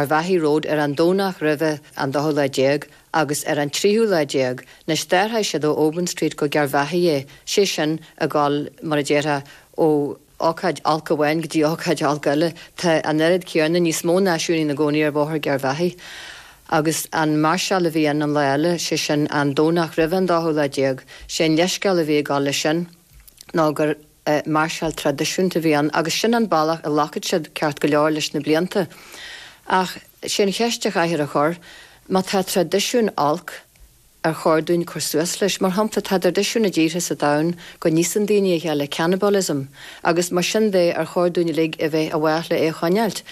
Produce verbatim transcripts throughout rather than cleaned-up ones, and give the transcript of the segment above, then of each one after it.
Garvaghy Road ar an Domhnach roimhe an dóú lá déag agus ar an tríú lá déag, anois d'athraigh siad ó Oban Street go Garvaghy é, sé sin ag dul mar a déarfá ó ócáid olc amháin go dtí ócáid olc eile, tá an oiread céanna níos mó náisiúnaí ina gcónaí ar Bhóthar Garvaghy. Agus an máirseáil a bhí ann an lá eile, sé sin an Domhnach roimhe an dóú lá déag, sé an leithscéal a bhí ag dul leis sin ná gur máirseáil traidisiúnta a bhí ann agus sin an bealach a ghlac siad ceart go leor leis na blianta. Ach sé an cheist a chaithfear a chur, má tá traidisiún olc ar chóir dúinn cur suas leis, mar shampla tá traidisiún i dtíortha sa domhan go n-íosann daoine a chéile, cannibalism, agus mar sin de ar chóir dúinn uilig a bheith i bhfách le é a choinneáilt.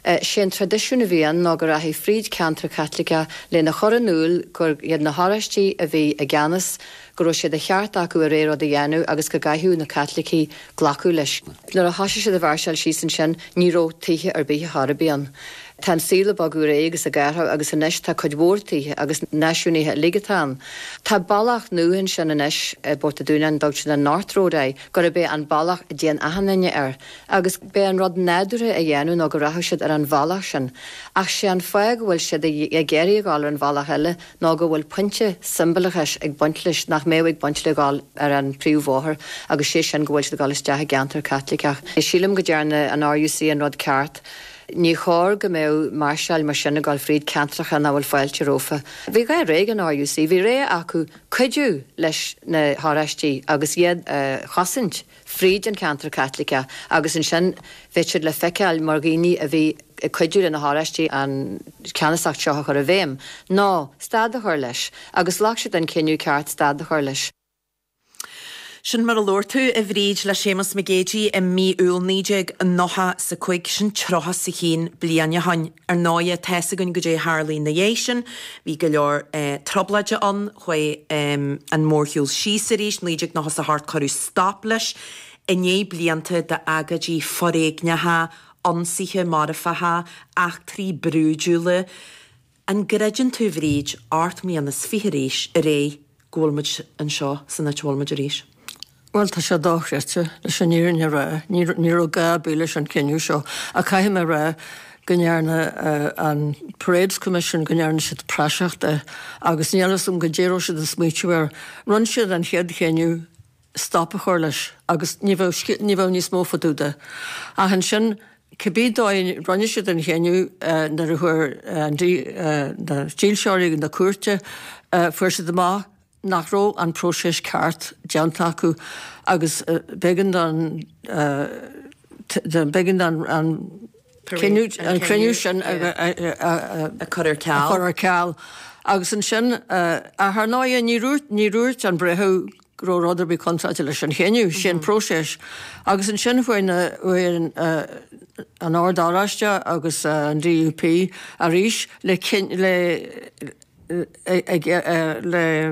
Sé an traidisiún a bhí ann ná go rachaí fríd ceantar Caitliceach lena chur in iúl gur iad na hOráistigh a bhí i gceannas, go raibh sé de cheart acu a rogha rud a dhéanamh agus go gcaithfeadh na Caitlicigh glacadh leis. Nuair a thosaigh siad ag mháirseáil síos ansin ní raibh tithe ar bith ar chor ar bith ann. Tá an saol ag bogadh ar aghaidh agus ag athrú agus anois tá cuid mhór tithe agus náisiúnaithe uilig atá ann. Tá bealach nua ansin anois i bPort an Dúnáin, dtugtar an North Road air, gurb é an bealach a dtéann achan duine air. Agus b'é an rud nádúrtha a dhéanamh ná go rachadh siad ar an bhealach sin. Ach sé an fáth go bhfuil siad ag iarraidh a dhul ar an bhealach eile ná go bhfuil pointe siombalachais ag baint leis nach mbeadh ag baint le dhul ar an príomhbhóthar agus sé sin go bhfuil siad ag dul isteach i gceantar Caitliceach. Sílim go ndearna an RUC an rud ceart. Ní chóir go mbeadh máirseáil mar sin ag dul fríd ceantracha nach bhfuil fáilte rompu. Bhí dhá rogha ag an RUC, bhí rogha acu cuidiú leis na hOráistigh agus iad a chosaint fríd an ceantar Caitliceach agus ansin bheadh siad le feiceáil mar dhaoine a bhí ag cuidiú le na hOráistigh an ceannasacht seo a chur i bhfeidhm, ná stad a chur leis, agus ghlac siad an cinneadh ceart stad a chur leis. Sin mar a labhair tú a Bhríd le Séamus Mac Géidigh i mí Iúil naoi déag nócha 's a cúig sin tríocha 's a haon bliain ó shin. Ar ndóighe tá 'fhios againn goidé a tharla ina dhiaidh sin, bhí go leor eh, trioblóide ann, chuaigh an mórshiúl síos arís, naoi déag nócha 's a hocht cuireadh stop leis, i ndiaidh blianta d'agóidí foréigneacha, ionsaithe marfacha, eachtraí brúidiúla. An gcreideann tú, a Bhríd, ocht mbliana is fiche arís ar aghaidh go bhfuil muid anseo san áit a bhfuil muid arís? Bhuel tá sé dochreidte leis an fhírinne a rá, ní raibh gá ar bith leis an cinneadh seo ach caithfidh mé a rá go ndearna an Parades Commission go ndearna siad praiseach de agus níl a fhios agam goidé a raibh siad ag smaoitiú air. Rinne siad an chéad chinneadh stop a chur leis agus ní bheadh ní bheadh níos mó fá dtaobh de. Ach ansin cibé dóigh rinne siad an chinneadh nuair a chuir na dílseoirí na cúirte fuair siad amach nach raibh an próiseas ceart déanta acu agus b'éigean don b'éigean don an an cruinniú sin a chur ar ceal. a chur ar ceal. Agus ansin ach ar ndóigh ní dúirt ní dúirt an breitheamh go raibh rud ar bith contráilte leis an chinneadh, sin próiseas. Agus ansin chuaigh na chuaigh an Ord Oráiste agus an DUP arís le le le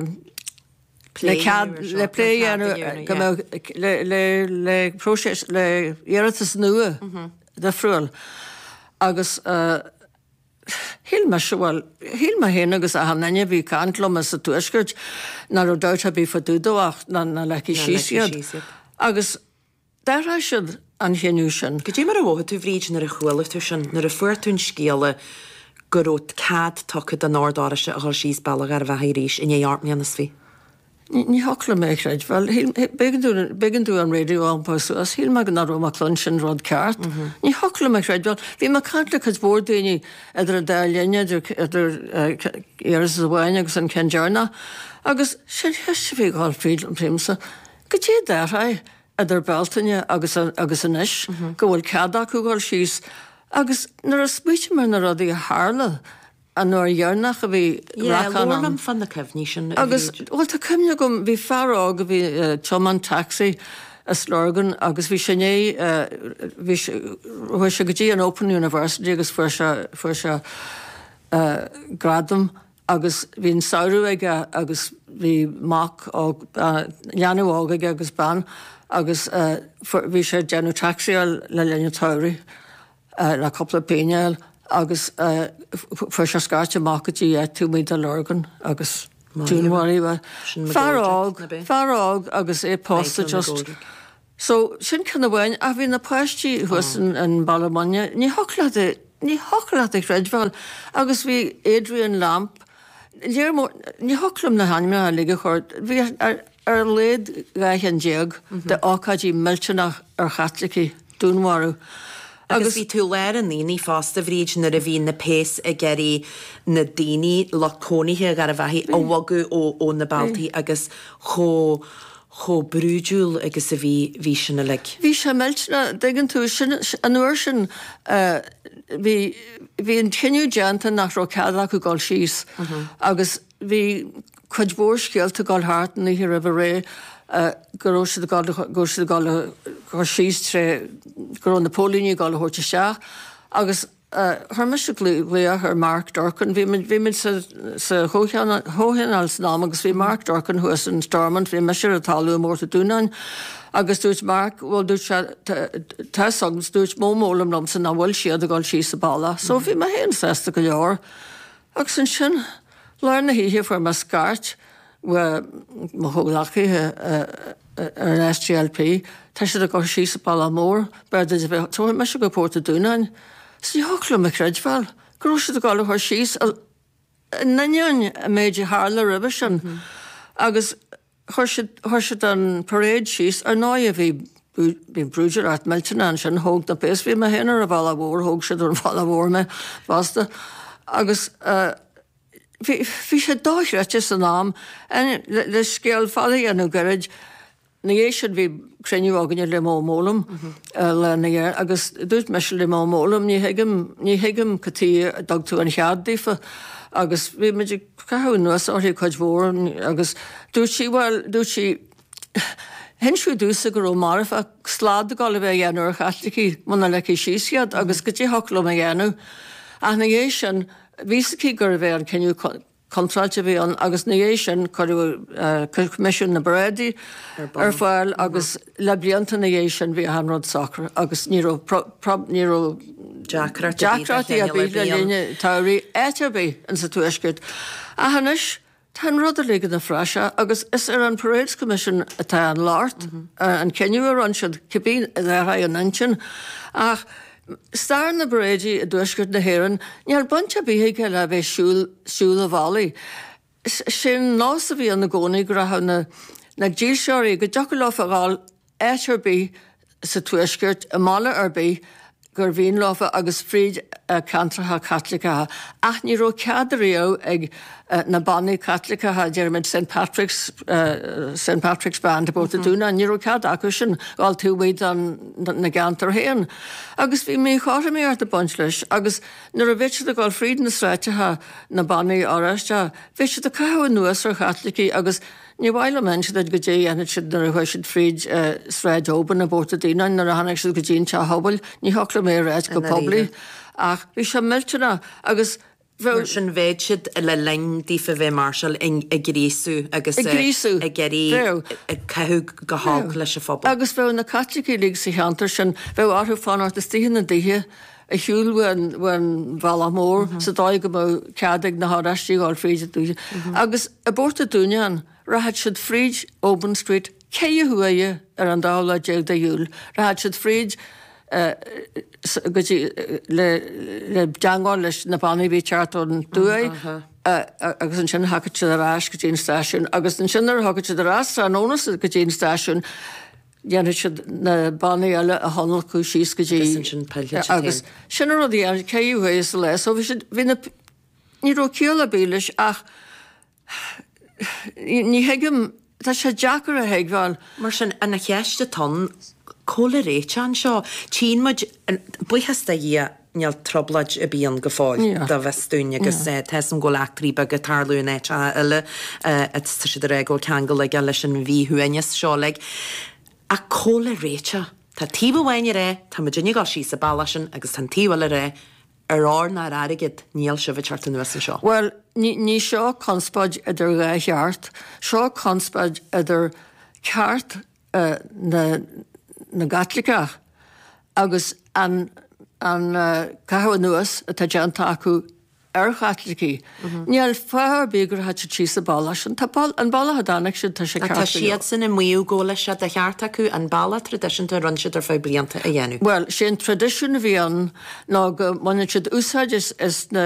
le cead le plé a dhéanamh go mbeadh le le le próiseas le iarratas nua difriúil. Agus shíl mise bhuel shíl mé féin agus achan duine a bhí ag caint liom sa tuaisceart nach raibh dabht ar bith fá dtaobh dó ach ná ná leigfí síos iad. Agus d'athraigh siad an chinneadh sin. Goidé mar a mhothaigh tú Bhríd nuair a chuala tú sin, nuair a fuair tú an scéala go raibh cead tugtha don Ord Oráiste a dhul síos Bealach Gharbhachaidh arís i ndiaidh ocht mbliana is fiche? Ní thiocfadh liom é a chreidbheáil. B'éigean domh an raidió a iompú suas, shíl mé nach raibh mé ag cluinstin rud ceart. Ní thiocfadh liom a chreidbheáil. Bhí mé ag caint le cuid mhór daoine idir an dá linn, idir idir iarratas amháin agus an ceann deireanach, agus sin cheist a bhí ag dul fríd liomsa, goidé a d'athraigh idir Bealtaine agus agus anois go bhfuil cead acu dhul síos agus nuair a smaoitigh mé ar na rudaí a tharla an uair dheireanach a bhí Yeah, racán labhair ann. liom fá na cuimhní sin, a Agus Bhríd. bhuel tá cuimhne agam bhí fear óg a bhí ag tiomáint taxi as Lurgan agus bhí sé i ndiaidh bhí sé chuaigh sé go dtí an Open University agus fuair sé fuair sé gradam agus bhí an samhradh aige agus bhí mac óg leanbh óg aige agus bean agus bhí sé ag déanamh taxíáil le linn an tsamhraidh le cúpla pingin a fháil agus fuair sé scairte amach go dtí áit taobh amuigh de Lurgan agus dúnmharaíodh é. Fear óg, fear óg agus é pósta just. So sin ceann amháin ach bhí na páistí thuas in Baile Munna, ní thiocfadh leat é, Ní thiocfadh leat a chreidbheáil agus bhí Adrian Lamp, léir mór, ní thiocfadh liom na hainmneacha uilig a chur, bhí ar ar a laghad dhá cheann déag de ócáidí millteanach ar Chaitlicigh, dúnmharú. Agus bhí tú i lár an aonaigh fosta, a Bhríd, nuair a bhí na péas ag iarraidh na daoine, lucht cónaithe Gharbhachaidh a bhogadh ó na bealtaí agus chomh chomh brúidiúil agus a bhí bhí sin uilig. Bhí sé millteanach, dtuigeann tú, sin an uair sin bhí bhí an cinneadh déanta nach raibh cead acu dul síos agus bhí cuid mhór scéalta ag dul thart an oíche roimh ré go raibh siad ag dul go raibh siad ag dul a chur síos tré go raibh na póilíní ag dul a thabhairt isteach agus chuir mise glaoch ar Mark Durkan, bhí muid bhí muid sa sa chomhthionól san am agus bhí Mark Durkan thuas in Stormont, bhí mise ar an talamh i bPort an Dúnáin agus dúirt Mark, bhuel dúirt sé tá 'fhios agam, dúirt Mo Mowlam liomsa nach bhfuil siad ag dul síos an bealach so bhí mé féin sásta go leor agus ansin lár na hoíche fuair mé scairt ó mo chomhghleacaithe ar an SDLP, tá siad ag dul síos an bealach mór, b'fhearr duit a bheith, tabharfaidh mise go Port an Dúnáin. Is ní thiocfadh liom a chreidbheáil go raibh siad ag dul a chur síos in ainneoin an méid a tharla roimhe sin. Agus chuir siad, chuir siad an parade síos, ar ndóigh bhí, bhí brúidiúlacht millteanach ansin, thóg na péas, bhí mé féin ar an bhealach mhór, thóg siad ar an bhealach mhór mé fosta. Agus bhí, bhí sé dochreidte san am, le, le scéal fada a dhéanamh gairid, Ina dhiaidh sin bhí cruinniú againne le Mo Mowlam lá ina dhiaidh agus dúirt mise le Mo Mowlam, ní thuigim, ní thuigim cad chuige a dtug tú an chead daofa agus bhí muid ag caitheamh anuas uirthi cuid mhór agus dúirt sí, bhuel, dúirt sí, hinseadh domhsa go raibh marfach slad ag dul a bheith á dhéanamh ar Chaitlicigh muna ligfí síos iad agus goidé thiocfadh liom a dhéanamh. Ach ina dhiaidh sin, bhí 'fhios aici gurbh é an cinneadh contráilte a bhí ann agus ina dhiaidh sin cuireadh Coimisiún na bParáidí ar fáil agus le blianta ina dhiaidh sin bhí achan rud socair agus ní raibh ní raibh deacrachtaí ar bith le linn an tsamhraidh áit ar bith insa Tuaisceart. Ach anois tá an rud uilig ina phraiseach agus is ar an Parades Commission atá an locht, an cinneadh a rinne siad, cibé a déarfaidh an intinn. Ach Stair na bparáidí i dTuaisceart na hÉireann, níl baint ar bith aige le bheith siúl siúl an bhealaigh. Sé an nós a bhí ann i gcónaí go rachadh na na dílseoirí, go dtiocfadh leofa a dhul áit ar bith sa Tuaisceart, i mbaile ar bith gur mhian leofa agus fríd ceantracha Caitliceacha. Ach ní raibh cead riamh ag na bannaí Caitliceacha, déarfaimid Saint Patrick's, Saint Patrick's Band i bPort an Dúnáin, ní raibh cead acu sin dhul taobh amuigh den na gceantar féin. Agus bhí míchothromaíocht ag baint leis agus nuair a bheadh siad ag dul fríd na sráideacha, na bannaí Oráisteacha, bheadh siad ag caitheamh anuas ar Chaitlicigh agus ní mhaith liom a inse duit goidé a dhéanfadh siad nuair a chuaigh siad fríd Sráid Oban i bPort an Dúnáin nuair a tháinig siad go dtí an Teach Pobail, ní thiocfadh liom é a ráit go poiblí ach bhí sé millteanach agus Mar sin bheadh siad le linn daofa bheith ag máirseáil ag gríosú agus ag iarraidh ag caitheamh go holc leis an phobal. Agus bheadh na Caitlicigh uilig sa cheantar sin, bheadh orthu fanacht istigh ina dtithe ar shiúl ón bhealach mór sa dóigh go mbeadh cead ag na hOráistigh a dhul fríd a dtithe. Agus i bPort an Dúnáin, rachadh siad fríd Oban Street ceithre huaire ar an dá lá déag de Iúil, rachadh siad fríd go dtí le le teangmháil leis na bannaí a bhí ag teacht ón dtuaith agus ansin thiocfadh siad ar ais go dtí an stáisiún agus ansin nuair a thiocfadh siad ar ais tráthnóna go dtí an stáisiún dhéanfadh siad na bannaí eile a thionlacadh síos go dtí agus sin an rud a dhéanadh ceithre huaire sa lá so bhí siad bhí na ní raibh ciall ar bith leis ach ní thuigim tá sé deacair a thuigbheáil. Mar sin, an cheist atá ann, cá bhfuil an réiteach anseo? Tchíonn muid, buíochas do Dhia, níl trioblóid ar bith ann go fóill, dá bhfios dúinn, agus tá 'fhios a'm go bhfuil eachtraí beaga ag tarlú in áiteacha eile, tá siad ag rá go bhfuil ceangal aige leis an mhíshuaimhneas seo uilig. Ach cá bhfuil an réiteach? Tá taobh amháin ag rá, tá muidinne ag dul síos an bealach sin, agus tá an taobh eile ag rá, Ar ór ná ar airgead, níl sibh ag teacht anuas anseo. Bhuel, ní, ní seo conspóid idir dhá cheart, seo conspóid idir ceart na, na gCaitliceach agus an, an caitheamh anuas atá déanta acu ar Chaitlicigh. Níl fáth ar bith go rachadh siad síos an bealach sin. Tá an bealach a dtáinig siad, tá sé ceart go leor. Tá siadsan ag maíomh go bhfuil sé de cheart acu an bealach traidisiúnta a rinne siad ar feadh blianta a dhéanamh. Bhuel, sé an traidisiún a bhí ann ná go mbaineann siad úsáid as na